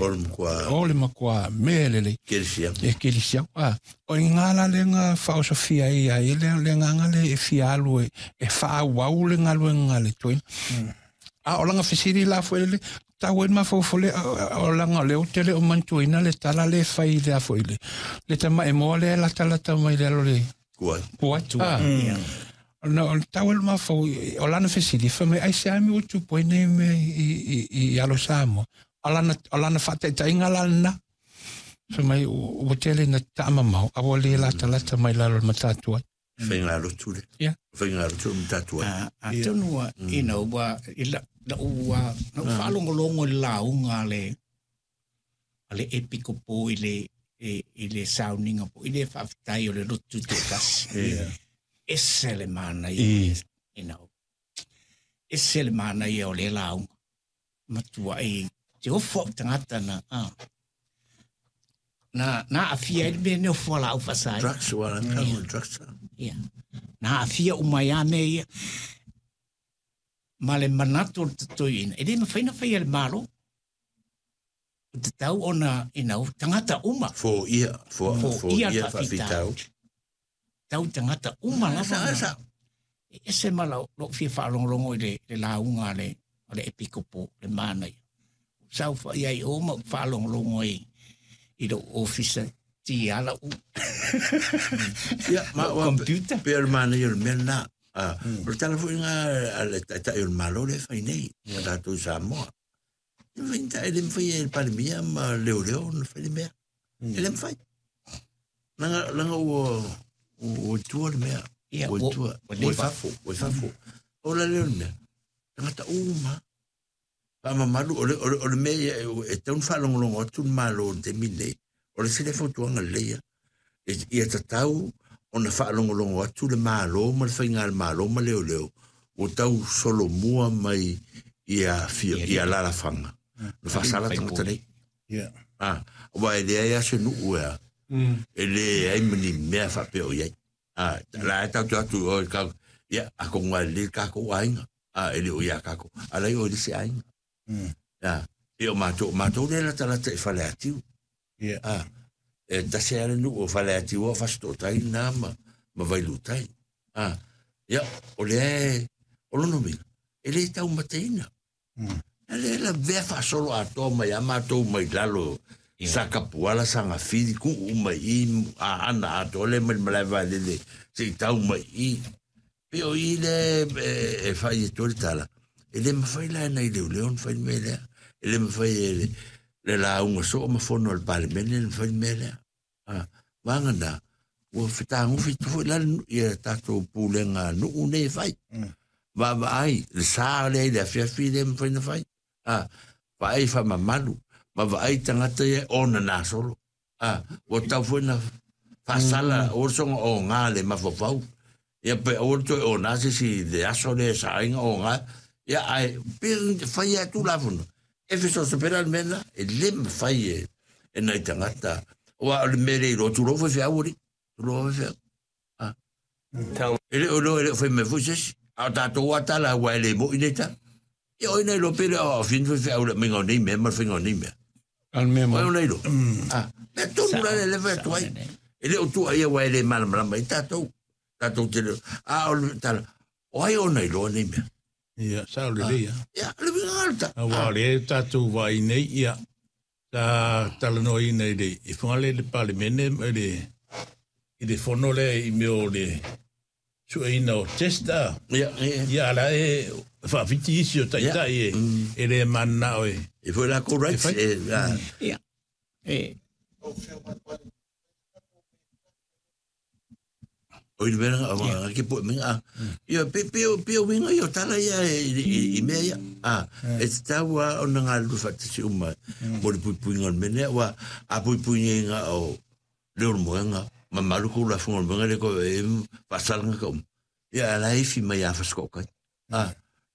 O le matua o le matua mea lelei kerisiano. E kerisiano. O i ina la le ga faaosofia ai ai le agaga le e fia alu e faaauau le galuega a le toeaina. A o laga fesili la foi le tau ai le mafaufau le o laga o lea ou te le o manatuaina le tala le fai i le a foi le tamaemoa lea e latalata mai le alo le Kuai. Kuai. Na o le tau ai le mafaufau o lana fesili fai mai aisea mea ua tupu ai nei mea i alo Samoa. O lana faataitaiga la lena. Fai mai ua tele ina taamamao a ua le latalata mai lalo o le matatuai. Faigalotu le. Faigalotu le matatuai. Atonu ua, ua i la ua na ou faalogologo i le lauga a le epikopo i le sauniga po i le faafetai o le lotu toatasi. Ese le manaia, ese le manaia o le lauga. Matuai te ofo au tagata na na aafia ai le mea nei o fualaau faasaina. Drugs, ua la kau drugs. Ia. Na aafia uma ai lava mea ia. Ma le manatu o le totoeina, e le mafai ona faia e le Malo. O tatau ona, tagata uma. Foia, Foia foia le faafitauli. Tau tagata uma lava. Sa. E ese ma lou fia faalogologo i le lauga a le epikopo, le manaia. Sau fai ai o ma ou faalogologo ai i lou ofisa ti ala u. Ia, ma Lou computer. Pe o le manaia o le mea lena. O le tala foi nga a le taitai o le Malo le fai nei, a tatou i Samoa. E mafai e le mafai e le Palemia ma leoleo ona fai le mea. E le mafai. Langa ua tua le mea. Ia, Ua tua. ua Ua leva. fafo, ua fafo. O la lea o le mea. Tagata uma. Faamamalu, o le mea ia e tatau ona faalogologo atu le Malo i le taimi lenei. O le isi lea fautuaga lelei ia. Ia tatau ona faalogologo atu le Malo ma le faigamalo ma leoleo ua tau solomua mai ia fia, ia alalafaga. Na faasala tagata nei. Aua e leai lava se nuu e e leai ma ni mea faapea o i ai. La e tatou atu o ka ia atonu lava e lelei le tatou aiga. E le o ia tatou. A la e o i le isi aiga. Ia o matou lea e latalata i Faleatiu. E tasi lava le nuu o Faleatiu o Fasitootai lena ma Vailuutai. Ia, o lea e, o lona uiga, e le taumateina. A lea lavea faasolo atoa mai a matou mai lalo Sakapuala, Sagafili, tuu mai i Aana atoa lea mai le malae vaalele se i tau mai i. Pe o i le e fai e le tala. E le mafai la e nai leoleo ona fai le mea lea. E le mafai e le lauga soo ma fono a le Palemene ona fai le mea lea. Vaga na, ua fetagofi atu foi la ia tatou pulega nuu nei e fai. Vaavaai, le sa lea i le afiafi le mafai na fai. Vaai faamamalu, ma vaai tagata ia ona nasolo. Ua tau foi na faasala, ua soga o ngā le mafaufau. Ia pe aua le toe o nā se si le aso le sainga o ngā. Ia ai, pe fai atu la funa. E fesoasoa le mea lena, e le mafai e nai tagata. Aua o le mea le iloa, tulou faifeau alii. Tulou faifeau. E le o iloa e le o fai mai foi se isi. A o tatou a tala aua e le moi nei tala. Ia o ina iloa pe le o afini faifeau le aumaiga o nei mea ma le faiga o nei mea. Al mea O mo. ona iloa. Mea tonu la le fai atu ai. E le o tua ia aua e le malamalama ai tatou. Tatou te le. A o le tala, o ai ona iloa nei mea. Ia, sao lelei ia. Ia, le uiga le tala. Aua o lea tatou vaai nei, ia, sa talanoaina i Fugalei le Palemene ma i le fono lea i mea o le sueina o test a. Ia, ia. Ia, ala e faafiti isi o taitai e le mananao e. E foi la ko rights E fai. e Ia. E, o i le mea o ke po menga. Ia pe pe pe o winga ia tala ia i mea ia. E te tau a ona ngā lulu whaatasi uma mo le puipuiga o le mea lea, ua a puipuiga o le o le moenga ma malu ko la funga o le moenga le ko e whaasalanga ka uma. Ia ala e fi mai a whaskokai.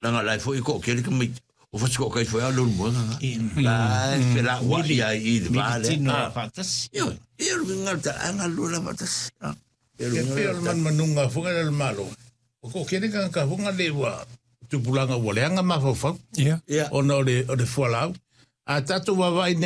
Langa lai foi ko kele ka mai o whaskokai foi a le o le moenga nga. La e fe la wa ia i le vā lea. Militino faatasi. Ia, ia le winga le ta anga lula whaatasi. Ia le Ia winga pe o le le manumanuga fuga le malo. O ko kele ka ka fuga le ua tupulaga ua leaga mafaufau Ia. Ia. ona o le fualaau. A tatou vaavaai nei.